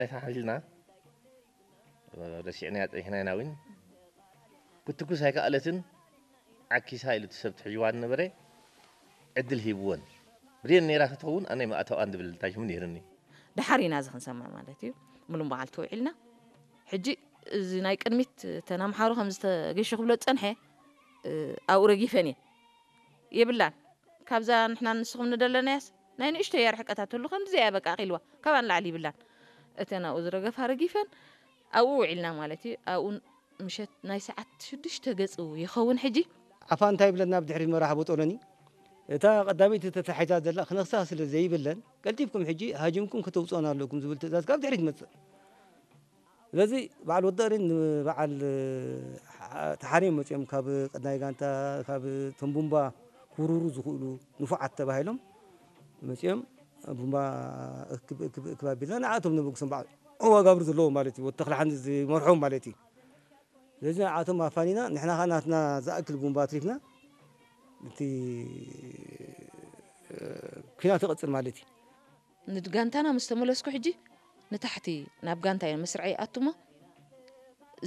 ኣይተሓሒዝና፣ ረሲዕናያ ጸኒሕና ኢና እውን። ክትትኩስ ኣይከኣለትን፣ ዓኪሳ ኢሉ እቲ ሰብ ትሕዝዋ ዝነበረ ዕድል ሂብወን። ብሬን ነይራ ክትኸውን ኣነ ምኣተዋን ዝብል ታሽሙ ነይርኒ። ደሓር ኢና እዚ ክንሰምዕ ማለት እዩ። ሙሉእ መዓልቲ ውዒልና። ሕጂ እዚ ናይ ቅድሚት እተን ኣምሓሩ ከም ዝተገሹ ክብሎ ዝጸንሐ፣ እ፣ ኣብኡ ረጊፈን እየ። የብላን። ካብዛ ንሕና ንስኹም ንደለናያስ ናይ ንእሽቶ እያ ርሕቀት ኣትሉ፣ ከምዚ እያ በቃ ኣኺልዋ። ካብኣ ንላዕሊ ይብላን። እተን ኣብኡ ዝረገፋ ረጊፈን ኣብኡ ውዒልና ማለት እዩ። ኣብኡ ምሸት ናይ ሰዓት ሽዱሽተ ገጹ ይኸውን ሕጂ። ዓፋ እንታይ ይብለና ብድሕሪ መራሕ ቦጦሎኒ? እታ ቀዳመይቲ ተታሒዛ ዘላ ክነኽሳ ስለ ዘይብለን፣ ቀልጢፍኩም ሕጂ ሃጅምኩም ከተውጽኦና ኣለኩም ዝብል ትእዛዝ ካብ ድሕሪት ይመጽእ። ስለዚ በዓል ወዲ ኦሬን ንበዓል፣ እ፣ ተሓርዮም መጺኦም ካብ ቀዳማይ ጋንታ፣ ካብ እቶም ቡምባ ክውርሩ ዝኽእሉ ንፉዓት ተባሂሎም መጺኦም ቡምባ እክብ፣ እክብ፣ እክብ ኣቢልና ንዓቶም ነበግሶም በዓል ዋጋብር ዘለዎም ማለት እዩ። ወዲ ተኽለ ሓንዚ ዝመርሖም ማለት እዩ። ስለዚ ንዓቶም ኣፋኒና ንሕና ኸዓ ናትና ዝኣክል ቡምባ ኣትሪፍና እቲ፣ እ፣ ኲናት ይቕጽል ማለት እዩ። ንጋንታና ምስ ተመለስኩ ሕጂ ንታሕቲ ናብ ጋንታ እየን መስርዐ ይኣቱሞ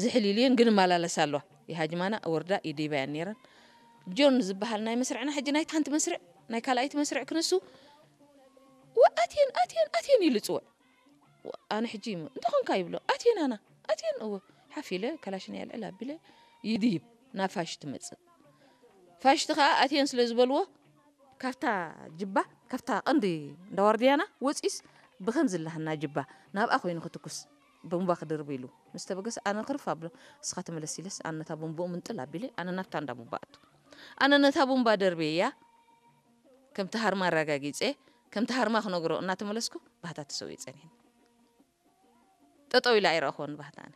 ዝሕሊልየን ግን እመላለሳ ኣለዋ። ይሃጅማና ወርዳ ይድይባያን ነይረን። ጆን ዝበሃል ናይ መስርዕና ሕጂ ናይቲ ሓንቲ መስርዕ ናይ ካልኣይቲ መስርዕ ክንሱ ወ-፣ ኣትየን፣ ኣትየን፣ ኣትየን ኢሉ ጽውዕ። ወ-፣ ኣነ ሕጂ ይም-፣ እንተኾንካ ይብሎ፣ ኣትየን ኣና፣ ኣትየን እወ። ሓፍ ኢለ፣ ካላሽነይ ኣልዕል ኣቢለ፣ ይድይብ፣ ናብ ፋሽ ትመጽእ። ፋሽቲ ኸኣ ኣትየን ስለ ዝበልዎ፣ ካብታ ጅባ፣ ካብታ ቀንዲ እንዳ ዋርድያና ወጺኡስ፣ ብኸምዚ ላህና ጅባ፣ ናብኣ ኮይኑ ክትኩስ፣ ቦምባ ክድርብ ኢሉ ምስ ተበገሰ፣ ኣነ ክርፍ ኣብሎ፣ እስኻ ተመለስ ኢለስ፣ ኣነ ነታ ቦምባኡ ምንጥል ኣቢለ፣ ኣነ ናብታ እንዳ ቦምባ ኣቱ። ኣነ ነታ ቦምባ ደርብየያ፣ ከምቲ ሃርማ ኣረጋጊጸ፣ ከምቲ ሃርማ ክነግሮ እናተመለስኩ፣ ባህታ ተሰዊኡ ጸኒሕኒ። ጠጠው ኢላ ኣይረእኽዎን ባህታ ኣነ።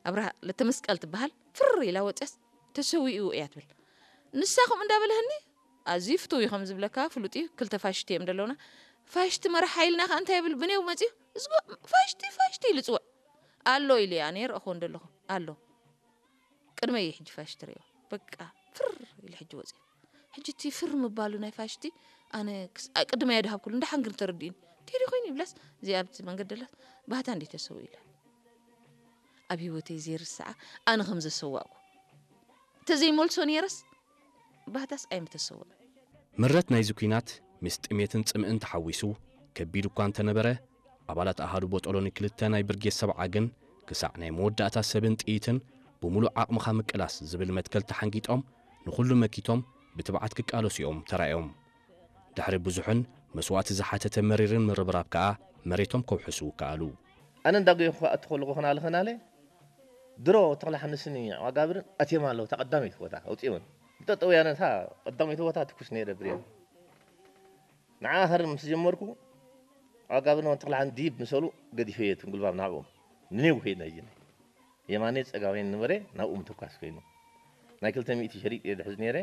ኣብርሃ ለተመስቀል ትበሃል፣ ፍር ኢላ ወጽያስ፣ "ተሰዊኡ" እያ ትብል። ንሳ ከምኡ እንዳበለህኒ፣ ኣዝዩ ፍቱው እዩ ከም ዝብለካ ፍሉጥ እዩ፣ ክልተ ፋሽቲ እዮም ዘለውና። ፋሽቲ መራሕ ሓይልና ከኣ እንታይ ይብል፣ ብኔው መጽዩ፣ "እዝጎ ፋሽቲ፣ ፋሽቲ" ኢሉ ጽውዕ። "ኣሎ" ኢሉ እያ፣ ኣነ ይረእኽዎ እንደለኹ፣ "ኣሎ" ቅድመይ እዩ ሕጂ ፋሽቲ ርእዮ። በቃ ፍር ኢለ ሕጂ ወፅየ። ሕጂ እቲ ፍር ምባሉ ናይ ፋሽቲ ኣነ ክስ-፣ ኣ-፣ ቅድመይ ኣይድሃብኩሉ፣ እንዳሓን ግን ተረዲኡኒ። እንታይ ዶ ኮይኑ ይብላስ፣ እዚኣ ኣብቲ መንገዲ ደላስ፣ ባህታ እንዴ ተሰው ኢላ። ኣብ ህይወተይ ዘይርስዓ ኣነ ከም ዘሰዋእኩ። እንተዘይመልሶ ነይረስ፣ ባህታስ ኣይምተሰወን። ምረት ናይዚ ኲናት ምስ ጥሜትን ጽምእን ተሓዊሱ ከቢድ እኳ እንተነበረ፣ ኣባላት ኣሃዱ ቦጦሎኒ ክልተ ናይ ብርጌድ ሰብዓ ግን ክሳዕ ናይ መወዳእታ ሰብን ጥይትን ብምሉእ ዓቕምኻ ምቅላስ ዝብል መትከል ተሓንጊጦም ንኹሉ መኪቶም ብትብዓት ክቃለሱ እዮም ተራእዮም። ድሕሪ ብዙሕን መስዋእቲ ዝሓተተ መሪርን ምርብራብ ከኣ መሬቶም ከውሕሱ ከኣሉ። ኣነ እንዳጎየኹ ክኣቱ ከለኹ ኸናለ ኸናለ ድሮ ተኽለ ሓንስን ዋጋብርን ኣትዮም ኣለዉ። እታ ቀዳመይቲ ቦታ ኣውፅኦን ብጠጠውያነ እታ ቀዳመይቲ ቦታ ትኩስ ነይረ ብሬን። ንዓ ሃር ምስ ጀመርኩ፣ ኣጋብን ወንተኽልሓን ዲብ ምሰሉ ገዲፈዮ እትን ጉልባብ ናብኦም። ንኔው ከይድና ይጅነ። የማኔ ጸጋሜን ነበረ፣ ናብኡ ምትኳስ ኮይኑ። ናይ ክልተ ሚእቲ ሸሪጥ እየ ዝሕዝ ነይረ።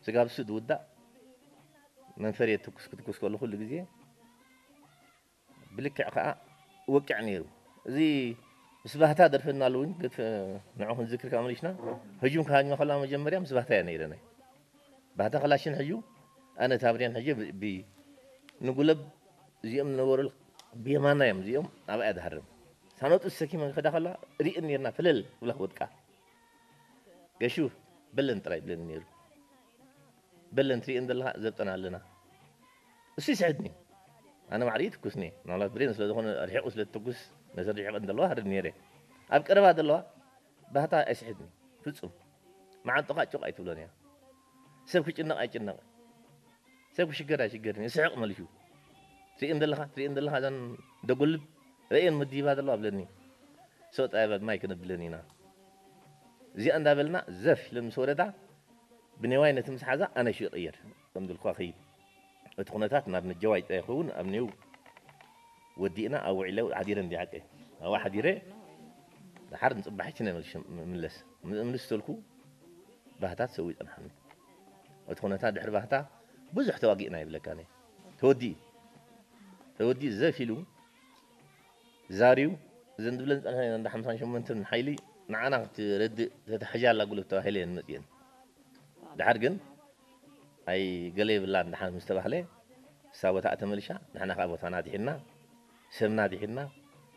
ስጋብ እሱ ዝውዳእ መንፈር እየ ትኩስ ክትኩስ ከሎ ኩሉ ግዜ ብልክዕ ከኣ ወቅዕ ነይሩ። እዚ ምስ ባህታ ደርፈና ኣለውን፣ ገት ንዑ ክንዝክር ከኣ መሊሽና። ህጁም ክሃጅማ ከላ መጀመርያ ምስ ባህታ እያ ነይረ ናይ። ባህታ ክላሽን ሕዩ፣ ኣነ ታብርያን ሕዩ ብ-፣ ብ-፣ ንጉለብ እዚኦም ዝነበሩ ብየማና እዮም፣ እዚኦም ኣብኣ ድሃርም። ሳኖጡ ዝሰኪመ ክዳ ከላ ርእን ነርና፣ ፍልል ብላ ክወድቃ። ገሹ በለን ጥራይ ብለን ነይሩ። በለን ትርእን ዘለኻ ዘብጠና ኣለና። እሱ ይስሕድኒ። ኣነ ማዕሪ ትኩስኒ። ምናልባት ብሬን ስለ ዝኾነ ርሒቑ ስለ ትኩስ፣ ነዚ ርሒቐን ዘለዋ ሃርድ ነይረ። ኣብ ቀረባ ዘለዋ ባህታ ኣይስሕድኒ። ፍጹም። መዓንጥኻ ጭቕ ኣይትብሎን እያ። ሰብ ክጭነቕ ኣይጭነቕ። ሰብ ክሽገር ኣይሽገርን። ይስሕቕ መሊሹ። ትርእን ዘለኻ፣ ትርእን ዘለኻ እዘን ደጎልብ ረእየን ምድይባ ዘለዋ ኣብለኒ። ሰው ጣይባ ማይ ክነብለን ኢና። እዚኣ እንዳበልና ዘፍ ኢለን ምስ ወረዳ ብኔዋይ ነቲ ምስ ሓዛ ኣነ ሽቕ እየር። ከም ዝልኳ ኸይድ። እቲ ኩነታት ናብ ነጀዋይ ጥራይ ይኸውን፣ ኣብ ኔው ወዲእና ኣብ ውዒለ ሓዲረ እንዲ ዓቀ። ኣብኣ ሓዲረ፣ ደሓር ንጽባሒችን እየ መልሽ-፣ ምለስ። ምልስ ተልኩ፣ ባህታት ሰው ይጸንሓኒ። እቲ ኩነታት ድሕሪ ባህታ ብዙሕ ተዋጊእና ይብለካ እኔ። ተወዲኡ። ተወዲኡ ዘፍ ኢሉ፣ ዛርዩ፣ እዘን ዝብለን ዝጸንሐ እንዳ ሓምሳን ሸሞንተን ሓይሊ ንዓና ክትረድእ ተታሕዣ ኣላ ጉልበት ተባሂለ እየን መጽየን። ድሓር ግን ኣይ ገለ የብላን ደሓን ምስ ተባህለ፣ እሳ ቦታኣ ተመሊሻ፣ ንሕና ከኣ ቦታና ኣድሒንና፣ ሰብና ኣድሒንና፣